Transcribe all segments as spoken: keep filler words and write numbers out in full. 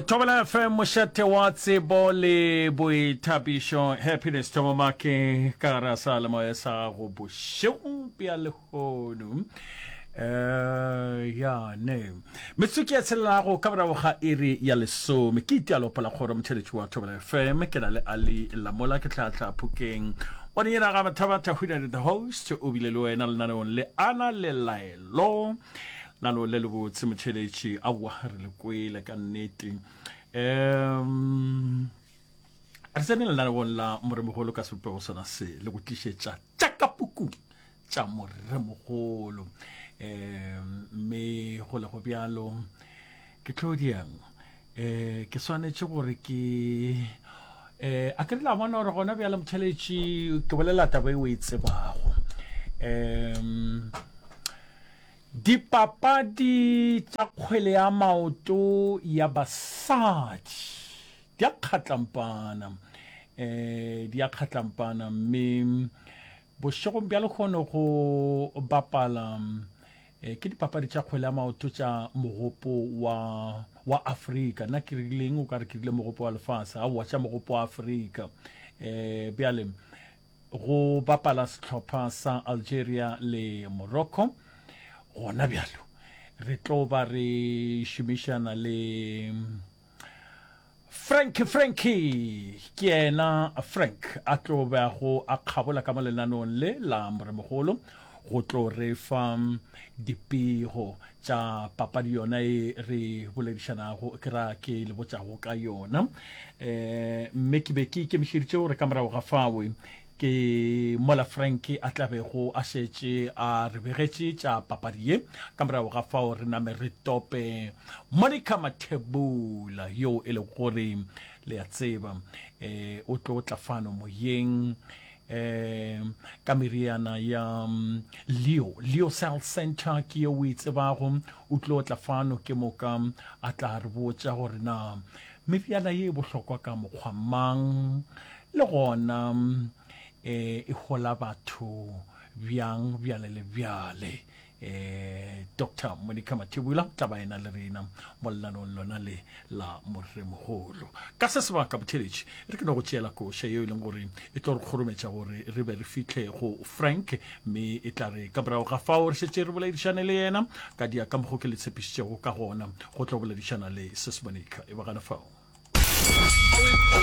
Thobela F M, mošate wa tsebo le boithabišo. Happiness Thomomake ka gare ga seyalemoya sa gago bošegong bja lehono. Eh, ya ne metsotso ke ya tshelelago ka morago ga iri ya lesome. Ke itia lopo la kgoro motšheletši wa Thobela F M, ke na le Ali Lamola, ke tlhatlha phokeng wa dinyena ga Mathabatha Hwinane the host, o bile le wena lenaneong le ana le laelo nalo le lebotse motšheletši. Aowa, re le kwele ka nnete. Um re tsene lenaneong la Moremogolo ka sebopego sona se le go tlišetša tša ka pukung tša Moremogolo. Um mme go le go bjalo ke tlo diang, um ke swanetše gore ke um a ke re la bona gore gona bjale motšheletši ke bolela taba e o e tsebago. Um dipapadi tša kgwele ya maoto ya basadi di a kgatlampana, um di a kgatlampana, mme bošegong bja lekgono go bapala eh, ke dipapadi tša kgwele ya maoto tša mogopo wa wa Afrika. Nna ke rileng? O ka re ke rile mogopo wa lefase. Aowa, tša mogopo wa Afrika. um bjale go bapala sehlopha sa Algeria le Morocco. Gona bjalo re tlo ba re šomišana le Frank. Frankie ke yena Frank a tlo bago a kgabola ka mo lenaneong le la Moremogolo go tlo re fa dipego tša papadi yona e re boledišanago, ke ra ke le botšago ka yona. um mme ke be ke ikemišeditše gore ka morago ga fawe ke mola Frank a tlabego a šetše a re begetše tša papadi ye, ka morago ga fao re name re tope Monica Mathebula, yo e lego gore le a tseba um o tlo tla fano moyeng um ka meriana ya Leo Leo Cell Center, ke ye o e tsebago. O tlo tla fano ke moka a tla re botša gore na meriana ye e bohlokwa ka mokgwa mang, le gona um e hola batho bjang, bjale le bjale. um Doctor Monica Mathebula tla ba ena le rena mo lenaneong lona le la Moremogolo. Ka se sebaka botheletši re ke no go tšeela koša yeo e leng gore e tlo re kgorometša gore re be re fihle go Frank, mme e tla re ka morago ga fao re šetše re boledišane le yena ka dia ka mokgo ke le tshepišitšego ka gona go tlo boledišana le Sis Monica. E ba gana fao.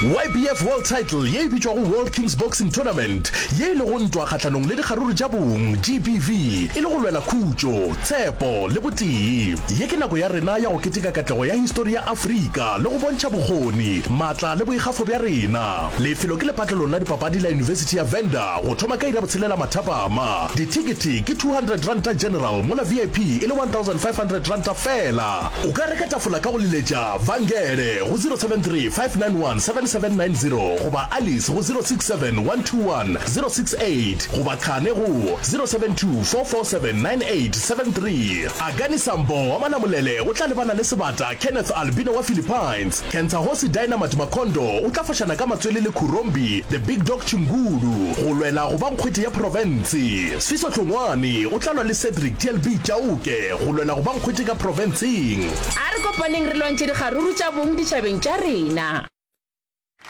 Y B F World Title ye e bitšwago World Kings Boxing Tournament, ye e lego ntwa kgahlanong le dikgaruru tša bong, G B V, e le go lwela khutšo, tshepo le botee. Ye ke nako ya rena ya go keteka katlego ya histori ya Afrika le go bontšha bokgoni, maatla le boikgafo bja rena. Lefelo ke lepatlelong la dipapadi la Yunibesithi ya Venda go thoma ka iri ya botshelela mathapama. Dithekete ke two hundred ranta general mola V I P e le one thousand five hundred ranta fela. O ka reka tafola ka go leletša Vangele go zero seven three five nine one seven seven nine zero goba Alice go zero six seven one two one zero six eight goba Khane go zero seven two four four seven nine eight seven three. Akani Sambo wa Malamulele o tla lebana le sebata Kenneth Albino wa Philippines. Kentsahosi Dynamite Makondo o tla fošana ka matswele le Khurombi The Big Dog Chingulu go lwela go ba nkgwete ya profense. Sfiso Hlongwane o tla lwa le Cedric T L B Chauke go lwela go ba nkgwete ka profenseng. A re kopaneng re lwantšhe dikgaruru tša bong ditšhabeng tša rena.